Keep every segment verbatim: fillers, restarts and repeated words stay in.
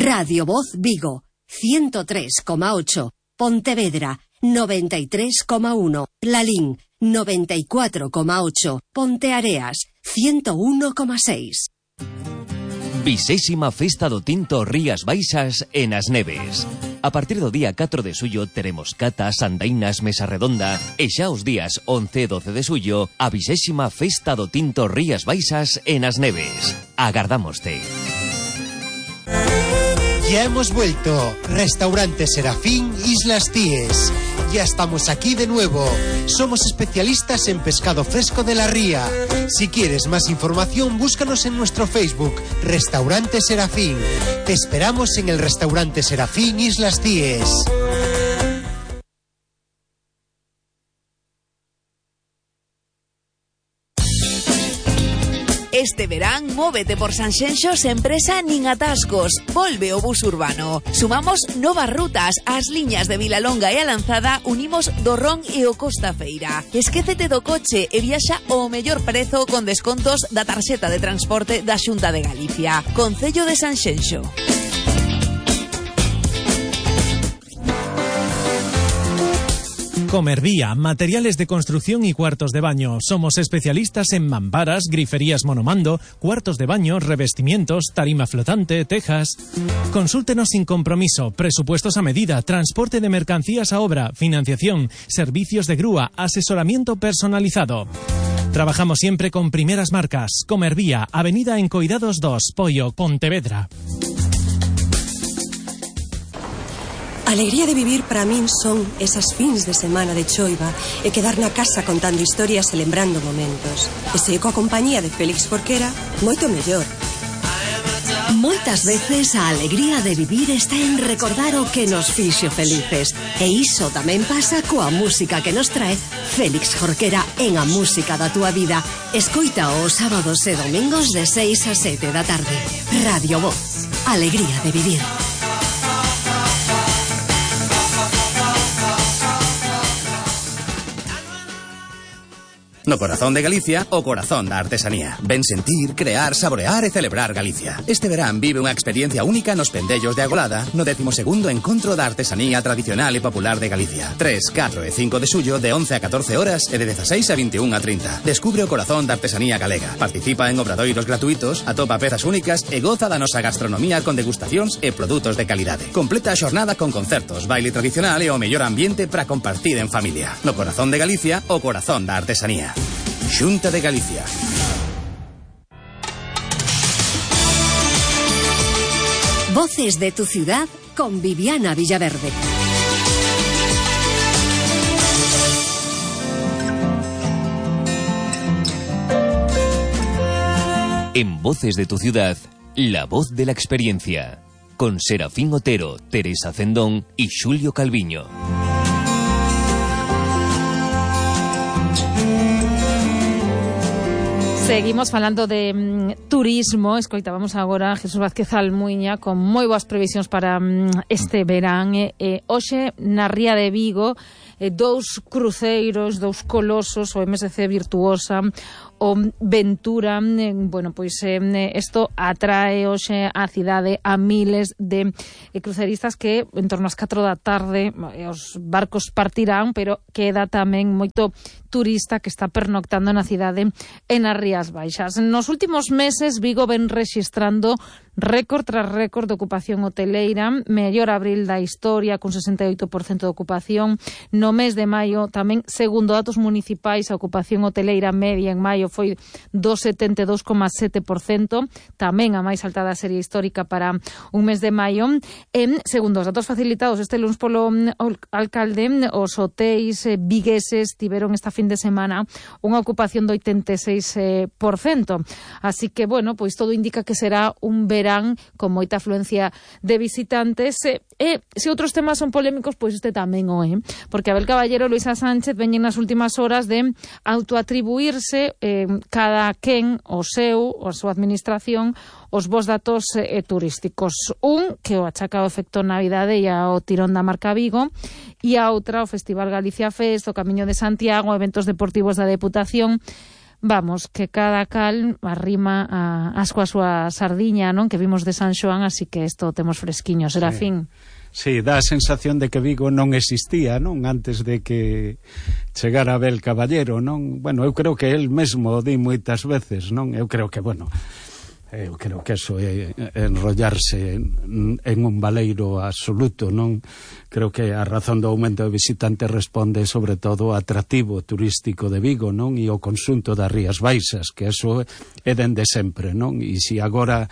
Radio Voz Vigo, ciento tres coma ocho. Pontevedra, noventa y tres coma uno. Lalín, noventa y cuatro coma ocho. Ponteareas, ciento uno coma seis. Vixésima Festa do Tinto Rías Baixas en As Neves. A partir do día catro de xullo teremos catas, andainas, mesa redonda e xa os días once e doce de xullo a vixésima Festa do Tinto Rías Baixas en As Neves. Agardámoste. Ya hemos vuelto. Restaurante Serafín Islas Cíes. Ya estamos aquí de nuevo. Somos especialistas en pescado fresco de la ría. Si quieres más información, búscanos en nuestro Facebook, Restaurante Serafín. Te esperamos en el Restaurante Serafín Islas Cíes. Este verán, móvete por Sanxenxo sen presa nin atascos. Volve o bus urbano. Sumamos novas rutas. As liñas de Vilalonga e a Lanzada unimos do Ron e o Costa Feira. Esquécete do coche e viaxa ao mellor prezo con descontos da tarxeta de transporte da Xunta de Galicia. Concello de Sanxenxo. Comervía, materiales de construcción y cuartos de baño. Somos especialistas en mamparas, griferías monomando, cuartos de baño, revestimientos, tarima flotante, tejas. Consúltenos sin compromiso, presupuestos a medida, transporte de mercancías a obra, financiación, servicios de grúa, asesoramiento personalizado. Trabajamos siempre con primeras marcas. Comervía, Avenida Encoidados dos, Poio, Pontevedra. A alegría de vivir para min son esas fins de semana de choiva e quedar na casa contando historias e lembrando momentos. E se coa compañía de Félix Jorquera, moito mellor. Moitas veces a alegría de vivir está en recordar o que nos fixo felices. E iso tamén pasa coa música que nos trae Félix Jorquera en A Música da Túa Vida. Escoita os sábados e domingos de seis a sete da tarde. Radio Voz. Alegría de vivir. No corazón de Galicia, o corazón da artesanía. Ven sentir, crear, saborear e celebrar Galicia. Este verán vive unha experiencia única nos pendellos de Agolada, no décimo segundo encontro da artesanía tradicional e popular de Galicia. tres, catro e cinco de xullo de once a catorce horas e de dezaseis a veintiún a trinta. Descubre o corazón da artesanía galega. Participa en obradoiros gratuitos, atopa pezas únicas e goza da nosa gastronomía con degustacións e produtos de calidade. Completa a xornada con concertos, baile tradicional e o mellor ambiente para compartir en familia. No corazón de Galicia, o corazón da artesanía. Xunta de Galicia. Voces de tu ciudad con Viviana Villaverde. En Voces de tu ciudad, la voz de la experiencia. Con Serafín Otero, Teresa Cendón y Xulio Calviño. Seguimos falando de mm, turismo. Escoitábamos agora a Jesús Vázquez Almuiña con moi boas previsións para mm, este verán. E, e, hoxe, na Ría de Vigo, e, dous cruceiros, dous colosos, o M S C Virtuosa, o Ventura. E, bueno, pois isto eh, atrae hoxe á cidade a miles de eh, cruceristas que en torno ás catro da tarde eh, os barcos partirán, pero queda tamén moito turista que está pernoctando na cidade e nas Rías Baixas. Nos últimos meses, Vigo ven rexistrando récord tras récord de ocupación hoteleira, mellor abril da historia, con sesenta e oito por cento de ocupación. No mes de maio, tamén, segundo datos municipais, a ocupación hoteleira media en maio foi do setenta e dous coma sete por cento, tamén a máis alta da serie histórica para un mes de maio. E, segundo os datos facilitados este luns polo alcalde, os hotéis eh, vigueses tiveron esta fin de semana unha ocupación do oitenta e seis por cento. Así que, bueno, pois todo indica que será un verán con moita afluencia de visitantes. E, e se outros temas son polémicos, pois este tamén o é. Porque Abel Caballero e Luisa Sánchez veñen nas últimas horas de autoatribuirse eh, cada quen o seu, a súa administración, os bons datos eh, turísticos. Un, que o achaca ao efecto Navidade e ao tirón da marca Vigo, e a outra, o Festival Galicia Fest, o Camiño de Santiago, eventos deportivos da Deputación. vamos, que cada cal arrima a, as coa súa sardiña, non? Que vimos de San Xoán, así que isto temos fresquiño, será sí. fin. Sí, dá a sensación de que Vigo non existía, non? Antes de que chegara Abel Caballero, non? Bueno, eu creo que el mesmo o di moitas veces, non? Eu creo que, bueno, eu creo que eso é enrollarse en, en un baleiro absoluto, non? Creo que a razón do aumento de visitantes responde sobre todo ao atractivo turístico de Vigo, non? E o conxunto das Rías Baixas, que eso é dende sempre, non? E se agora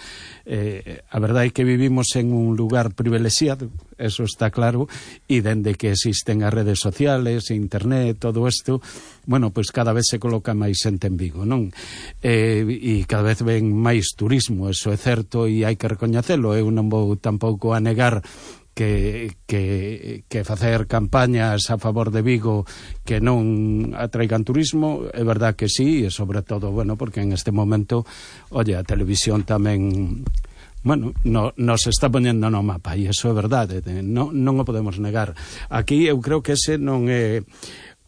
eh, a verdade é que vivimos en un lugar privilexiado, eso está claro, e dende que existen as redes sociales, internet, todo isto, bueno, pois cada vez se coloca máis xente en Vigo, non? Eh, e cada vez ven máis turismo, eso é certo e hai que recoñecelo. Eu non vou tampouco a negar que, que, que facer campañas a favor de Vigo que non atraigan turismo, é verdad que sí, e sobre todo, bueno, porque en este momento, oye, a televisión tamén, bueno, no, nos está poñendo no mapa, e iso é verdade, non, non o podemos negar. Aquí eu creo que ese non é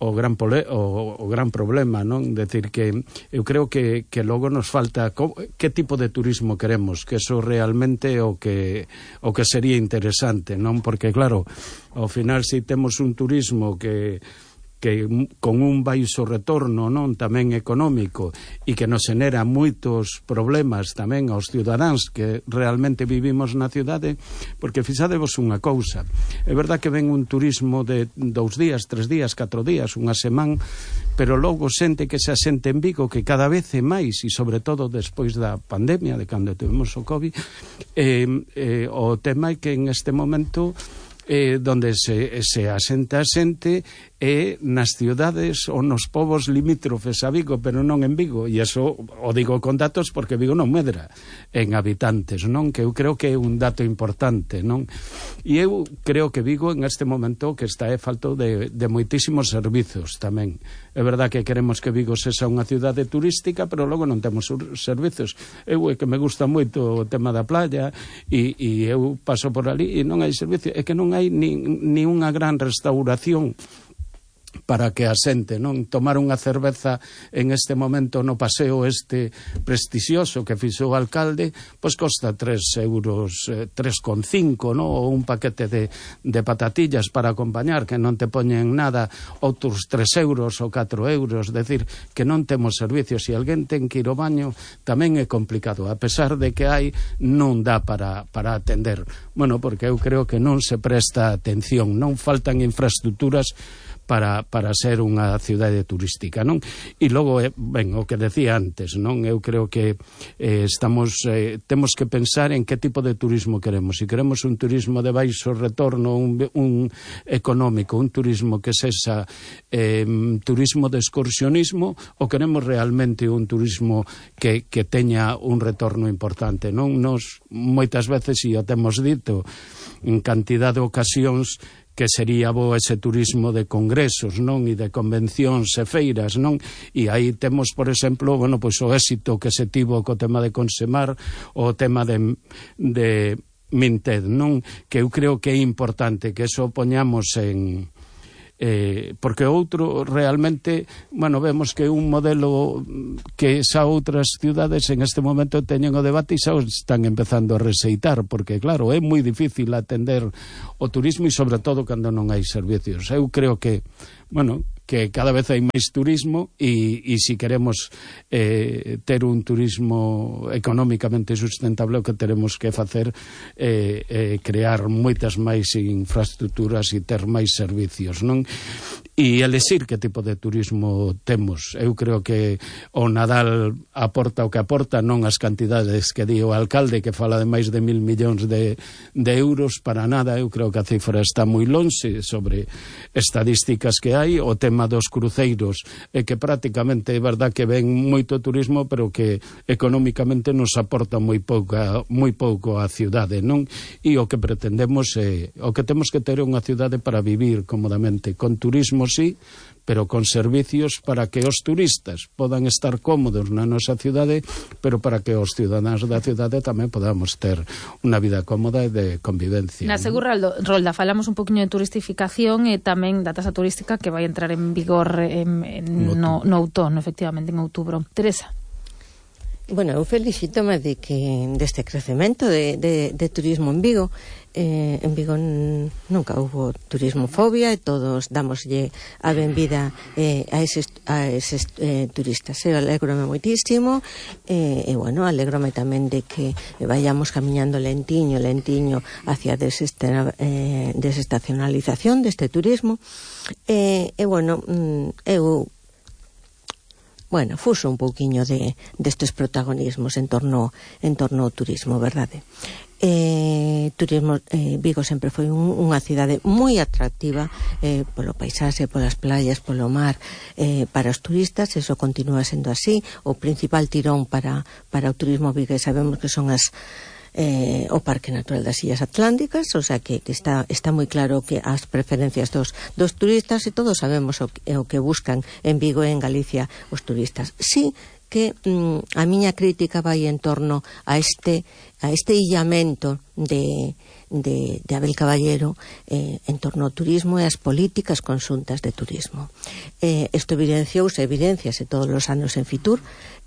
o gran pole, o, o gran problema, non? Decir que eu creo que, que logo nos falta co, que tipo de turismo queremos, que eso realmente o que o que sería interesante, non? Porque claro, ao final se si temos un turismo que que con un baixo retorno, non, tamén económico, e que nos xenera moitos problemas tamén aos cidadáns que realmente vivimos na cidade, porque fixadevos unha cousa, é verdad que ven un turismo de dous días, tres días, catro días, unha semana, pero logo xente que se asente en Vigo, que cada vez é máis, e sobre todo despois da pandemia, de cando tivemos o COVID, eh, eh, o tema é que en este momento eh, donde se, se asenta a xente é nas ciudades ou nos povos limítrofes a Vigo, pero non en Vigo, e iso o digo con datos porque Vigo non medra en habitantes, non? Que eu creo que é un dato importante, non? E eu creo que Vigo en este momento que está é falto de, de moitísimos servizos tamén. É verdad que queremos que Vigo sexa unha cidade turística, pero logo non temos servizos. Eu é que me gusta moito o tema da playa e, e eu paso por ali e non hai servicio, é que non hai ni, ni unha gran restauración para que a xente, non, tomar unha cerveza en este momento no paseo este prestixioso que fixo o alcalde, pois costa tres euros, eh, tres con cinco, non? Ou un paquete de, de patatillas para acompañar que non te poñen nada, outros tres euros ou catro euros, decir que non temos servicios, e alguén ten que ir ao baño tamén é complicado, a pesar de que hai, non dá para, para atender. Bueno, porque eu creo que non se presta atención, non faltan infraestructuras para, para ser unha cidade turística, non? E logo, eh, ben, o que decía antes, non? Eu creo que eh, estamos eh, temos que pensar en que tipo de turismo queremos. Se queremos un turismo de baixo retorno, un, un económico, un turismo que sexa eh, turismo de excursionismo, ou queremos realmente un turismo que, que teña un retorno importante, non? Nos moitas veces, e o temos dito en cantidad de ocasións, que sería bo ese turismo de congresos, non? E de convencións e feiras, non? E aí temos, por exemplo, bueno, pois o éxito que se tivo co tema de Consemar, o tema de, de Minted, non? Que eu creo que é importante que eso poñamos en... Eh, porque outro realmente, bueno, vemos que un modelo que xa outras ciudades en este momento teñen o debate e xa están empezando a reseitar, porque claro, é moi difícil atender o turismo e sobre todo cando non hai servicios. Eu creo que, bueno, que cada vez hai máis turismo e, e se queremos eh, ter un turismo económicamente sustentable, o que teremos que facer é eh, eh, crear moitas máis infraestructuras e ter máis servicios, non? E elexir que tipo de turismo temos. Eu creo que o Nadal aporta o que aporta, non as cantidades que di o alcalde, que fala de máis de mil millóns de, de euros, para nada. Eu creo que a cifra está moi lonxe sobre estadísticas que hai. O tema dos cruceiros é que prácticamente é verdad que ven moito turismo, pero que económicamente nos aporta moi pouca, moi pouco á cidade, non? E o que pretendemos é, o que temos que ter é unha cidade para vivir cómodamente, con turismo sí, pero con servicios para que os turistas podan estar cómodos na nosa cidade, pero para que os ciudadanos da cidade tamén podamos ter unha vida cómoda e de convivencia. Na Segura Rolda falamos un poquinho de turistificación e tamén da tasa turística que vai entrar en vigor en, en, no, no outono, efectivamente, en outubro. Teresa. Bueno, eu felicítome de que deste crecemento de, de, de turismo en Vigo. Eh, en Vigo nunca hubo turismofobia e todos damoslle a benvida eh, a eses, a eses eh, turistas. Eu alégrome moitísimo eh, e, bueno, alégrome tamén de que vayamos camiñando lentiño, lentiño hacia desesta, eh, desestacionalización deste turismo. E, eh, eh, bueno, eu Bueno, fuso un pouquiño de destes protagonismos en torno en torno ao turismo, verdade? Eh, turismo, eh, Vigo sempre foi un, unha cidade moi atractiva eh, polo paisaxe, polas playas, polo mar, eh, para os turistas, eso continúa sendo así. O principal tirón para, para o turismo vigués sabemos que son as Eh, o Parque Natural das Illas Atlánticas, o sea que, que está, está moi claro que as preferencias dos, dos turistas, e todos sabemos o, o que buscan en Vigo e en Galicia os turistas. Sí que mm, a miña crítica vai en torno a este, a este illamento de, de, de Abel Caballero eh, en torno ao turismo e as políticas conxuntas de turismo. Eh, isto evidenciouse, evidenciase todos os anos en Fitur.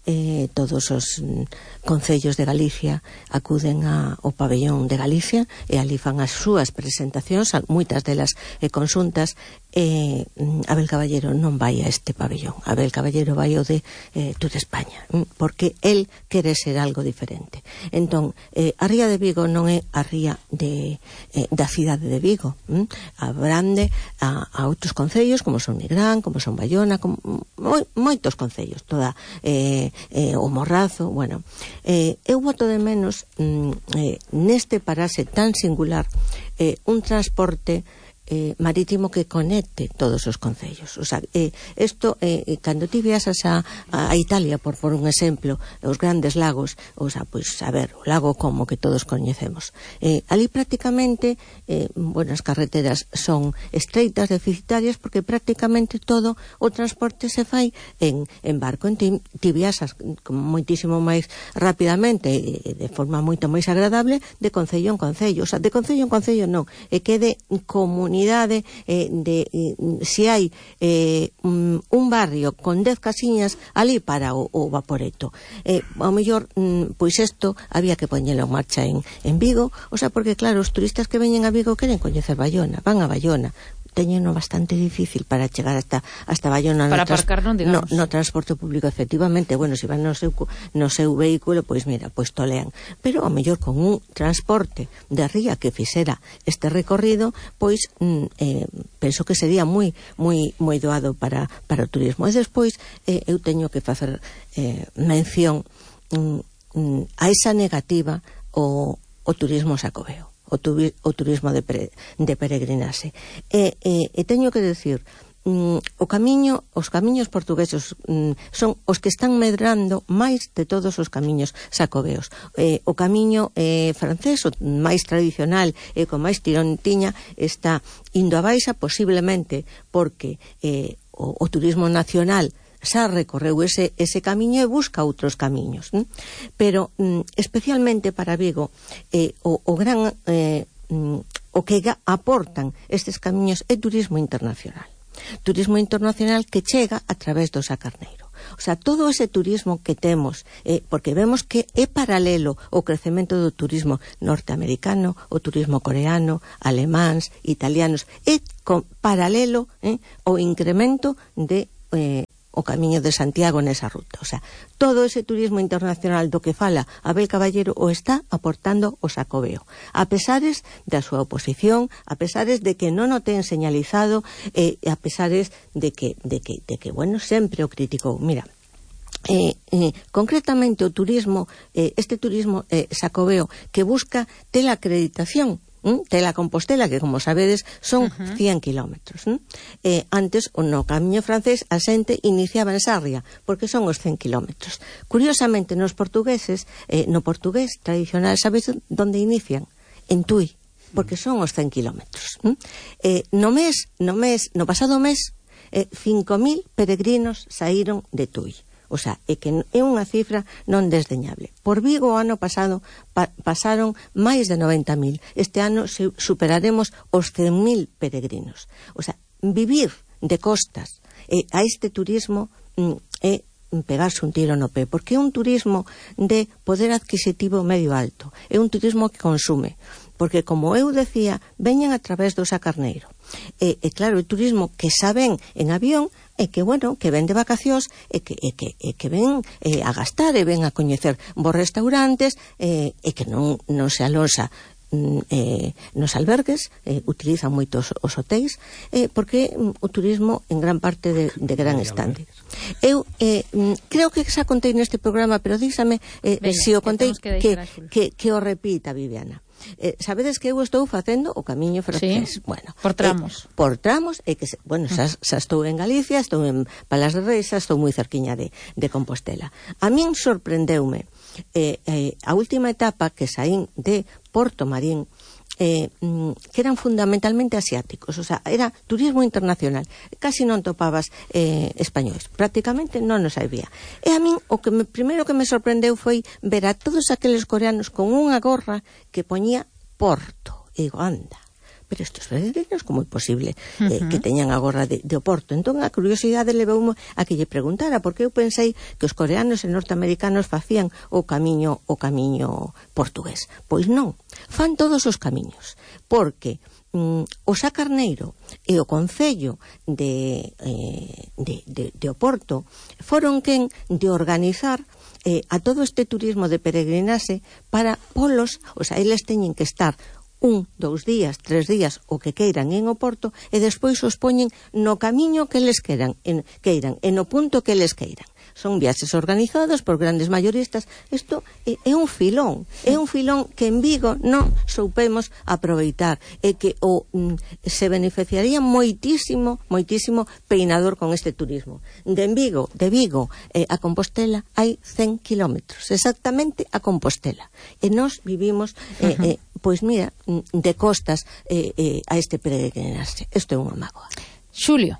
Eh, todos os mm, concellos de Galicia acuden a, ao pabellón de Galicia e ali fan as súas presentacións, moitas delas eh, conxuntas. eh, Abel Caballero non vai a este pabellón, Abel Caballero vai ao de eh, Tour España, porque el quere ser algo diferente. Entón, eh, a ría de Vigo non é a ría de, eh, da cidade de Vigo, hm? abrande a, a outros concellos como son Nigrán, como son Bayona, como, moi, moitos concellos, toda eh, Eh, o Morrazo, bueno, eh, eu boto de menos mm, eh, neste parase tan singular eh, un transporte eh, marítimo que conecte todos os concellos. O sea, eh, esto, eh, cando ti viaxas a, a Italia, por por un exemplo, os grandes lagos, o sea, pois, a ver, o lago Como, que todos coñecemos, eh, ali prácticamente, eh, bueno, as carreteras son estreitas, deficitarias, porque prácticamente todo o transporte se fai en, en barco. En ti, ti viaxas moitísimo máis rapidamente e de forma moito máis agradable de concello en concello. O sea, de concello en concello non, e que de comunidade Eh, de eh, se hai eh, un, un barrio con dez casiñas ali para o, o vaporeto, eh, ao mellor mm, pois isto había que poñelo en marcha en, en Vigo, o sea, porque claro, os turistas que veñen a Vigo queren coñecer Bayona, van a Bayona, teñeno bastante difícil para chegar hasta hasta Bayona para no aparcar, non, digamos. No, no transporte público, efectivamente. Bueno, se van no seu, no seu vehículo, pois mira, pois tolean. Pero ao mellor con un transporte de ría que fixera este recorrido, pois mm, eh, penso que sería moi moi moi doado para, para o turismo. E despois eh, eu teño que facer eh, mención mm, mm, a esa negativa o, o turismo xacobeo. O, tu, o turismo de, pre, de peregrinaxe. E, e, e teño que decir, mm, o camiño, os camiños portugueses mm, son os que están medrando máis de todos os camiños xacobeos. Eh, o camiño eh, francés, o máis tradicional e con máis tirón tiña, está indo a baixa, posiblemente porque eh, o, o turismo nacional xa recorreu ese, ese camiño e busca outros camiños, ¿eh? Pero mm, especialmente para Vigo eh, o, o gran eh, mm, o que aportan estes camiños é turismo internacional, turismo internacional que chega a través do Sacarneiro. O sea, todo ese turismo que temos, eh, porque vemos que é paralelo o crecemento do turismo norteamericano, o turismo coreano, alemáns, italianos, é con, paralelo eh, o incremento de eh, o Camiño de Santiago nesa ruta. O sea, todo ese turismo internacional do que fala Abel Caballero o está aportando o Xacobeo. A pesares da súa oposición, a pesares de que non o ten señalizado, e eh, a pesares de que, de que, de que, bueno, sempre o criticou. Mira, Eh, eh, concretamente o turismo, eh, este turismo eh, xacobeo que busca ter a acreditación ¿Mm? de la Compostela, que como sabedes son uh-huh. cien kilómetros. ¿Mm? Eh, antes, no camiño francés, a xente iniciaba en Sarria, porque son os cen kilómetros. Curiosamente, nos portugueses, eh, no portugués tradicional, sabes onde inician? En Tui, porque son os cen kilómetros. ¿Mm? Eh, no mes, no mes, no pasado mes, eh, cinco mil peregrinos saíron de Tui. O sea, é que é unha cifra non desdeñable. Por Vigo o ano pasado pa pasaron máis de noventa mil. Este ano superaremos os cen mil peregrinos. O sea, vivir de costas eh, a este turismo mm, é pegarse un tiro no pé, porque é un turismo de poder adquisitivo medio alto, é un turismo que consume, porque, como eu decía, veñen a través do Sá Carneiro. E, e claro, o turismo que xa ven en avión é que, bueno, que ven de vacacións e que, e que, e que ven eh, a gastar e ven a coñecer bons restaurantes eh, e que non, non se alosa Eh, nos albergues, eh, utilizan moitos os hotéis, eh, porque mm, o turismo en gran parte de, de gran estande. Eu eh, creo que xa contei neste programa, pero díxame eh, Venga, se o contei que, que, que, que o repita, Viviana. Eh, sabedes que eu estou facendo o camiño francés, sí, bueno, por tramos. Eh, por tramos, e que, se, bueno, xa, xa estou en Galicia, estou en Palas de Reis, xa estou moi cerquiña de, de Compostela. A min sorprendeume eh, eh, a última etapa que saín de Porto Marín, eh, que eran fundamentalmente asiáticos, o sea, era turismo internacional, casi non topabas eh, españois, prácticamente non nos había. E a min o que me, primeiro que me sorprendeu foi ver a todos aqueles coreanos con unha gorra que poñía Porto, e digo, anda, pero estes peregrinos, como é posible eh, uh-huh. que teñan a gorra de, de Oporto? Entón a curiosidade levoume a que lle preguntara, porque eu pensei que os coreanos e norteamericanos facían o camiño o camiño portugués. Pois non, fan todos os camiños, porque mm, o Sá Carneiro e o Concello de, eh, de, de, de Oporto foron quen de organizar eh, a todo este turismo de peregrinaxe para polos, o sea, eles teñen que estar un, dous días, tres días, o que queiran en Oporto, e despois os poñen no camiño que eles queiran, en, queiran, e no punto que eles queiran. Son viaxes organizados por grandes mayoristas. Isto é, é un filón, é un filón que en Vigo non soupemos aproveitar, e que o mm, se beneficiaría moitísimo, moitísimo peinador con este turismo. De Vigo, de Vigo eh, a Compostela hai cen kilómetros, exactamente a Compostela. E nós vivimos, eh, uh-huh. eh, pois mira, de costas eh, eh, a este peregrinaxe. Isto é unha mágoa. Xulio.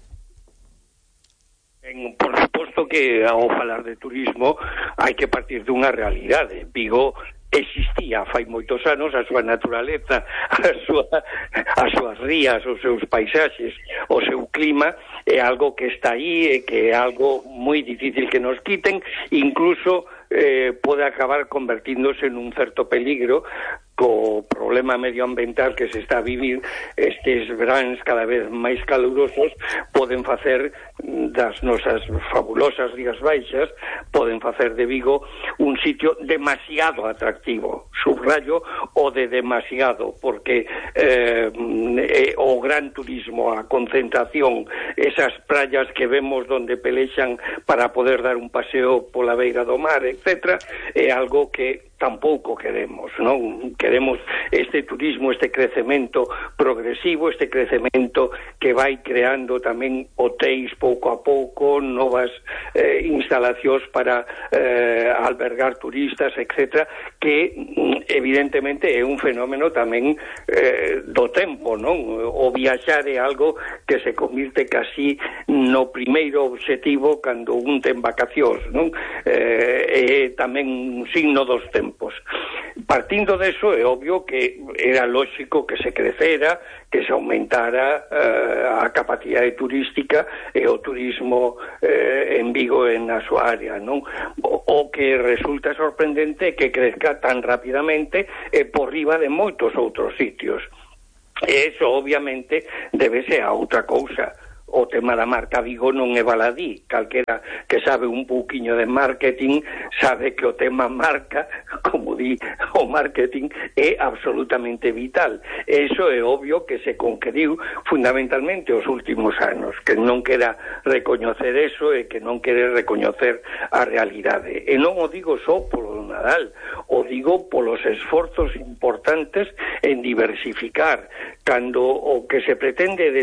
En, por suposto que ao falar de turismo hai que partir dunha realidade. Vigo existía fai moitos anos, a súa naturaleza, a súa, as súas rías, os seus paisaxes, o seu clima é algo que está aí e que é algo moi difícil que nos quiten, incluso eh, pode acabar convertíndose en un certo peligro co problema medioambiental que se está a vivir. Estes veráns cada vez máis calurosos poden facer das nosas fabulosas Rías Baixas, poden facer de Vigo un sitio demasiado atractivo, subrayo o de demasiado, porque eh, eh, o gran turismo, a concentración, esas praias que vemos donde pelexan para poder dar un paseo pola beira do mar, etcétera, é algo que tampouco queremos, non? Queremos este turismo, este crecemento progresivo, este crecemento que vai creando tamén hotéis pouco a pouco, novas eh, instalacións para eh, albergar turistas, etcétera, que evidentemente é un fenómeno tamén eh, do tempo, non? O viaxar é algo que se convirte casi no primeiro obxectivo cando un ten vacacións, non? Eh, é tamén un signo dos tempos. Partindo de eso, é obvio que era lógico que se crecera, que se aumentara eh, a capacidade turística e o turismo eh, en Vigo e na súa área, non? O, o que resulta sorprendente é que crezca tan rapidamente e por riba de moitos outros sitios. E eso, obviamente, débese a outra cousa. O tema da marca Vigo non é baladí. Calquera que sabe un pouquiño de marketing sabe que o tema marca, como di o marketing, é absolutamente vital. Eso é obvio que se conqueriu fundamentalmente os últimos anos, que non quera recoñecer eso e que non quere recoñecer a realidade. E non o digo só polo Nadal, o digo polos esforzos importantes en diversificar, cando o que se pretende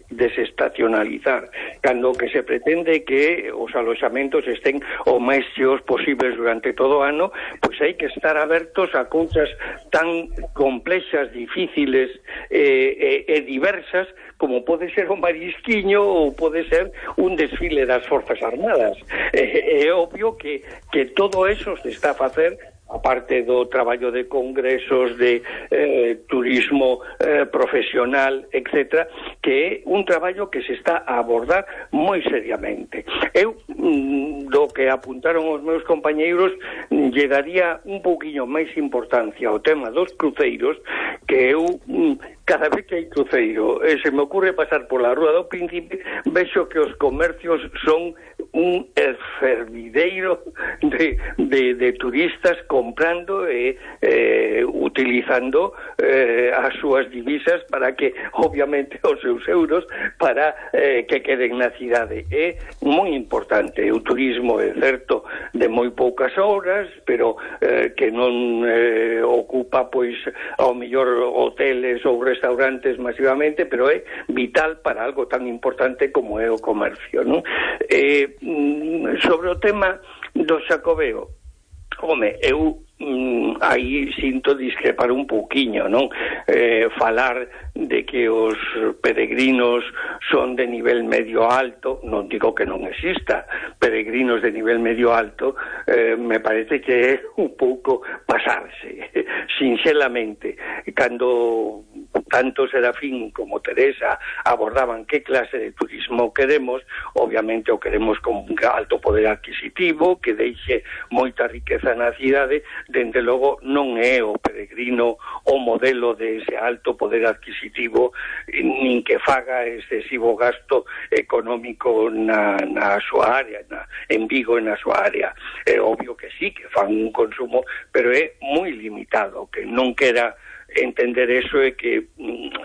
desestacionalizar, cando o que se pretende que os aloxamentos estén o máis cheos posibles durante todo o ano, pois hai que estar abertos a cousas tan complexas, difíciles e, e, e diversas como pode ser un marisquiño ou pode ser un desfile das Forzas Armadas. É, é obvio que, que todo eso se está a facer, aparte do traballo de congresos, de eh, turismo eh, profesional, etcétera, que é un traballo que se está a abordar moi seriamente. Eu, mm, do que apuntaron os meus compañeiros, lle daría un pouquiño máis importancia ao tema dos cruceiros, que eu, mm, cada vez que hai cruceiro, e se me ocurre pasar pola Rúa do Príncipe, vexo que os comercios son un fervideiro de, de, de turistas comprando e eh, utilizando eh, as súas divisas para que, obviamente, os seus euros para eh, que queden na cidade. É moi importante. O turismo é certo de moi poucas horas, pero eh, que non eh, ocupa, pois, ao mellor hoteles ou restaurantes masivamente, pero é vital para algo tan importante como é o comercio, non? Eh, sobre o tema do Xacobeo, home, eu mm, aí sinto discrepar un pouquiño, non? Eh, falar de que os peregrinos son de nivel medio alto, non digo que non exista peregrinos de nivel medio alto, eh, me parece que é un pouco pasarse, sinceramente. Cando tanto Serafín como Teresa abordaban que clase de turismo queremos, obviamente o queremos con un alto poder adquisitivo, que deixe moita riqueza na cidade. Dende logo non é o peregrino o modelo de ese alto poder adquisitivo, nin que faga excesivo gasto económico na, na súa área, na, en Vigo e na súa área. É obvio que sí, que fan un consumo, pero é moi limitado, que non quera entender eso é que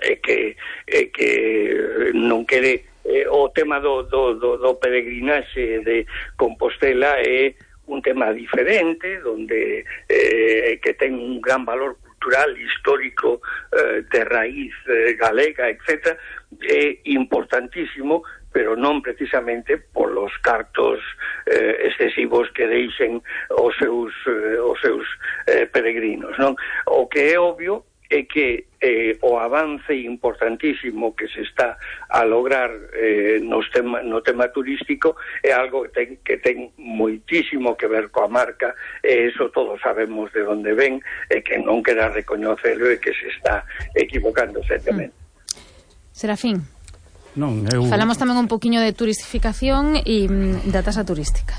é que é que non quere eh, o tema do, do, do, do peregrinaxe de Compostela é un tema diferente, donde eh, que ten un gran valor cultural, histórico, eh, de raíz eh, galega, etcétera, é importantísimo, pero non precisamente por los cartos eh, excesivos que deixen os seus eh, os seus eh, peregrinos, non? O que é obvio é que eh, o avance importantísimo que se está a lograr eh, nos tema, no tema turístico é algo que ten, que ten moitísimo que ver coa marca, e eso todos sabemos de onde ven, e que non quera recoñecelo e que se está equivocando seriamente. Mm. Serafín, non, eu... falamos tamén un poquinho de turistificación e mm, da tasa turística.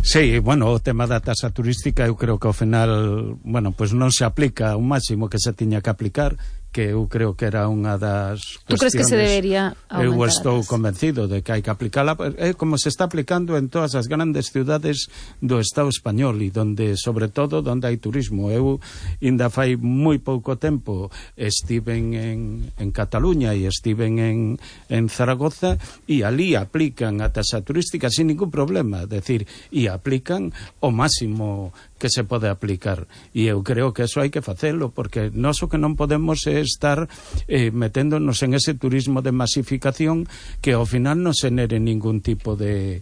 Sí, bueno, o tema da tasa turística eu creo que ao final, bueno, pois non se aplica o máximo que se tiña que aplicar, que eu creo que era unha das cuestiones. Tú crees que se debería aumentar? Eu estou convencido de que hai que aplicala, é como se está aplicando en todas as grandes ciudades do Estado español, e donde, sobre todo, donde hai turismo. Eu, ainda fai moi pouco tempo, estiven en, en Cataluña e estiven en, en Zaragoza, e ali aplican a tasa turística sin ningún problema, decir, e aplican o máximo que se pode aplicar, e eu creo que eso hai que facelo, porque nós o que non podemos é estar eh, meténdonos en ese turismo de masificación que ao final non se nere ningún tipo de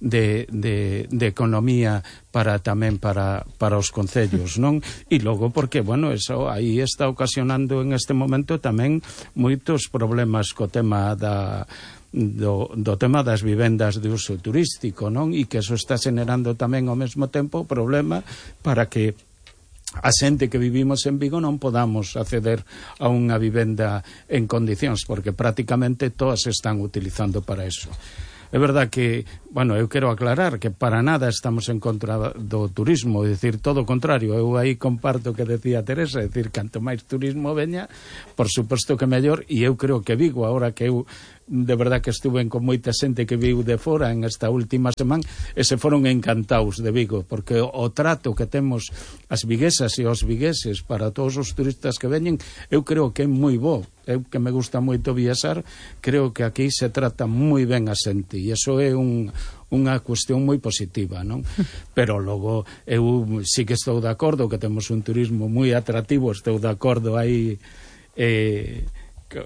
de, de, de economía para tamén para, para os concellos, non? E logo porque, bueno, eso aí está ocasionando en este momento tamén moitos problemas co tema da Do, do tema das vivendas de uso turístico, non? E que eso está generando tamén ao mesmo tempo problema para que a xente que vivimos en Vigo non podamos acceder a unha vivenda en condicións, porque prácticamente todas se están utilizando para eso. É verdad que, bueno, eu quero aclarar que para nada estamos en contra do turismo, é dicir, todo o contrario. Eu aí comparto o que decía Teresa, é dicir, canto máis turismo veña, por suposto que mellor, e eu creo que Vigo, agora que eu de verdad que estuven con moita xente que viu de fora en esta última semana e se foron encantados de Vigo, porque o, o trato que temos as viguesas e os vigueses para todos os turistas que veñen, eu creo que é moi bo. Eu que me gusta moito viaxar, creo que aquí se trata moi ben a xente, e iso é un unha cuestión moi positiva, non? Pero logo eu sí que estou de acordo que temos un turismo moi atractivo, estou de acordo aí eh,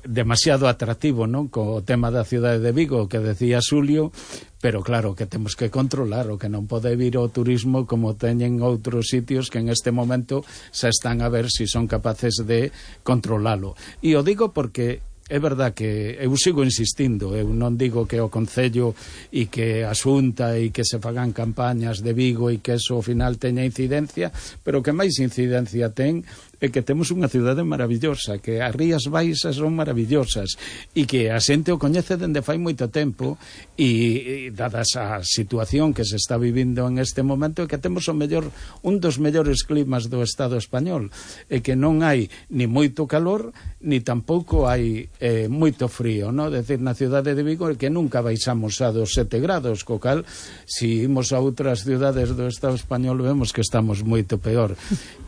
demasiado atractivo, non? Co tema da cidade de Vigo que decía Xulio, pero claro que temos que controlar, o que non pode vir o turismo como teñen outros sitios que en este momento se están a ver se si son capaces de controlalo. E o digo porque é verdad que eu sigo insistindo, eu non digo que o Concello e que a Xunta e que se fagan campañas de Vigo e que eso ao final teña incidencia, pero que máis incidencia ten é que temos unha cidade maravillosa, que as Rías Baixas son maravillosas e que a xente o coñece dende fai moito tempo e, e dadas a situación que se está vivindo en este momento, é que temos o mellor, un dos mellores climas do Estado español, e que non hai ni moito calor ni tampouco hai eh, moito frío, no? Decir, na cidade de Vigo é que nunca baixamos a dos sete grados, co cal se imos a outras cidades do Estado español vemos que estamos moito peor,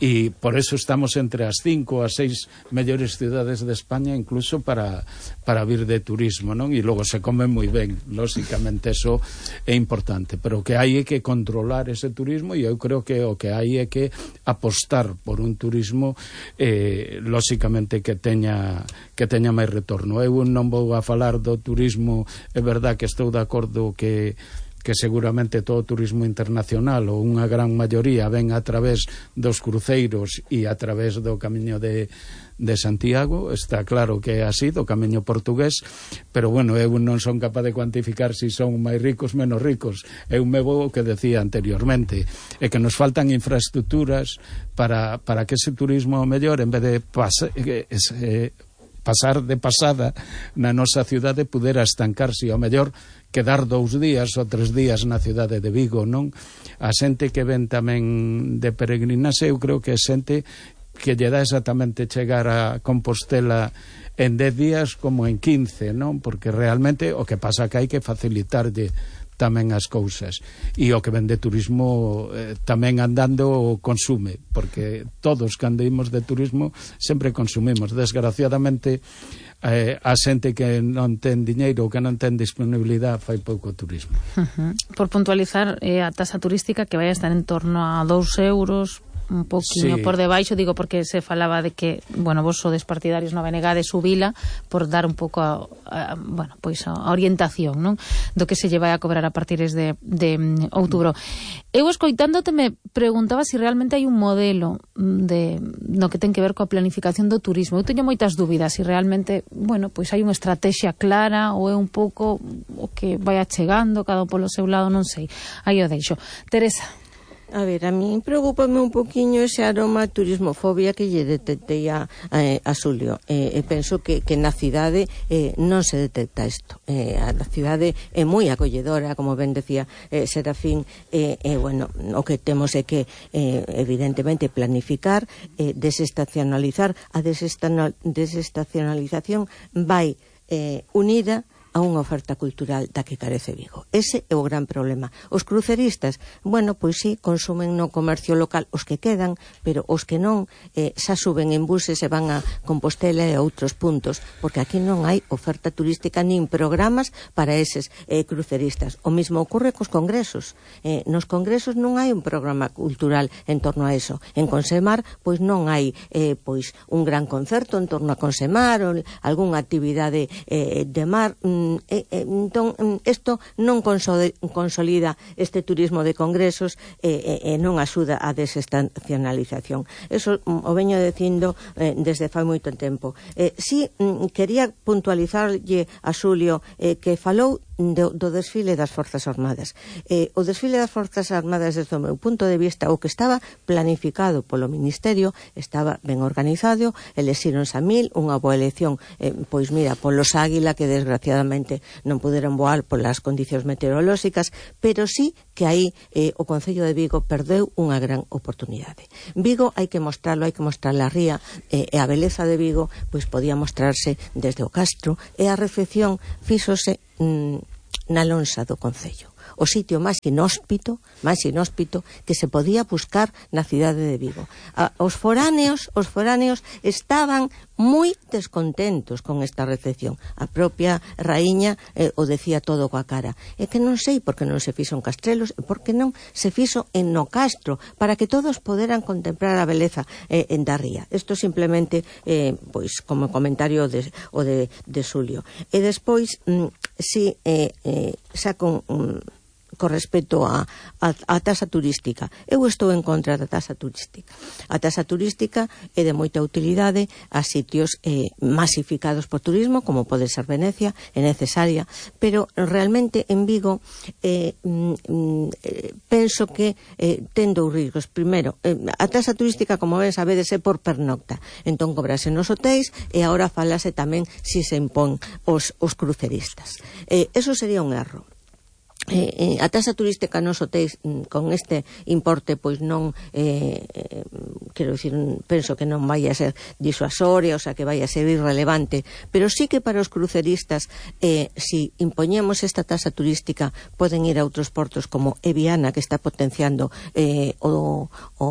e por eso estamos entre as cinco ou as seis mellores cidades de España incluso para, para vir de turismo, non? E logo se come moi ben, lóxicamente eso é importante, pero que hai é que controlar ese turismo, e eu creo que o que hai é que apostar por un turismo eh, lóxicamente que teña que teña máis retorno. Eu non vou a falar do turismo, é verdad que estou de acordo que que seguramente todo o turismo internacional ou unha gran maioría ven a través dos cruceiros e a través do camiño de, de Santiago, está claro que é así, do camiño portugués, pero bueno, eu non son capaz de cuantificar se si son máis ricos, menos ricos. Eu me vou o que decía anteriormente, é que nos faltan infraestructuras para, para que ese turismo mellor, en vez de pas, eh, eh, pasar de pasada na nosa cidade, pudera estancarse, ao mellor quedar dous días ou tres días na cidade de Vigo, non? A xente que ven tamén de peregrinase, eu creo que é xente que lle dá exactamente chegar a Compostela en dez días como en quince, non? Porque realmente o que pasa que hai que facilitarlle tamén as cousas, e o que vende turismo eh, tamén andando consume, porque todos cando imos de turismo sempre consumimos, desgraciadamente eh, a xente que non ten diñeiro ou que non ten disponibilidade fai pouco turismo. Uh-huh. Por puntualizar, eh, a tasa turística que vai a estar en torno a dous euros, un poquinho sí. por debaixo, digo porque se falaba de que, bueno, vos sodes partidarios no Benegade subila por dar un pouco a, a, bueno, pois a orientación, non? Do que se lle vai a cobrar a partir de, de um, outubro. Eu escoitándote me preguntaba se si realmente hai un modelo de no que ten que ver coa planificación do turismo. Eu teño moitas dúbidas se si realmente, bueno, pois hai unha estrategia clara ou é un pouco o que vai achegando cada un polo seu lado, non sei. Aí o deixo. Teresa. A ver, a mí preocúpame un poquinho ese aroma a turismofobia que lle detectei a, a, a Xulio. Eh, e penso que, que na cidade eh, non se detecta isto. Eh, a cidade é moi acolledora, como ben decía eh, Serafín, e eh, eh, bueno, o que temos é que eh, evidentemente planificar, eh, desestacionalizar. A desestacionalización vai eh, unida a unha oferta cultural da que carece Vigo. Ese é o gran problema. Os cruceristas, bueno, pois sí, consumen no comercio local os que quedan, pero os que non eh, xa suben en buses e van a Compostela e a outros puntos, porque aquí non hai oferta turística nin programas para eses eh, cruceristas. O mismo ocorre cos congresos. Eh, nos congresos non hai un programa cultural en torno a eso. En Consemar, pois non hai eh, pois un gran concerto en torno a Consemar ou algunha actividade eh, de mar. Eh, eh, entón, isto non consolida este turismo de congresos e eh, eh, non axuda a desestacionalización. Eso mm, o veño dicindo eh, desde fai moito tempo. Eh, si mm, quería puntualizarlle a Xulio eh, que falou do, do desfile das Forzas Armadas. Eh, o desfile das Forzas Armadas, desde o meu punto de vista, o que estaba planificado polo Ministerio, estaba ben organizado, elexíronse a mil, unha boa elección, eh, pois mira, polos Águila, que desgraciadamente non puderon voar polas condicións meteorolóxicas, pero sí que aí eh, o Concello de Vigo perdeu unha gran oportunidade. Vigo hai que mostrarlo, hai que mostrar a ría, eh, e a beleza de Vigo pois podía mostrarse desde o Castro, e a recepción fíxose mm, na lonxa do Concello, o sitio máis inhóspito, máis inhóspito que se podía buscar na cidade de Vigo. A, os foráneos, os foráneos estaban moi descontentos con esta recepción. A propia raíña eh, o decía todo coa cara. É que non sei por que non se fixo en Castrelos e por que non se fixo en no Castro, para que todos poderan contemplar a beleza eh, en da ría. Isto simplemente, eh, pois, como comentario de, o de, de Xulio. E despois, mm, si eh, eh, saco un... Mm, con respecto a, a, a tasa turística. Eu estou en contra da tasa turística. A tasa turística é de moita utilidade a sitios eh, masificados por turismo, como pode ser Venecia, é necesaria, pero realmente en Vigo eh, mm, eh, penso que eh, ten dous riscos. Primeiro, eh, a tasa turística, como ben sabedes, é por pernocta. Entón cobrase nos hotéis e agora falase tamén si se impón os, os cruceristas. Eh, eso sería un erro. Eh, eh, a tasa turística nos hotéis con este importe pois non eh, eh, quero dicir, penso que non vai a ser disuasoria, o sea que vai a ser irrelevante, pero sí que para os cruceristas eh, si impoñemos esta tasa turística poden ir a outros portos como Eviana, que está potenciando eh, o, o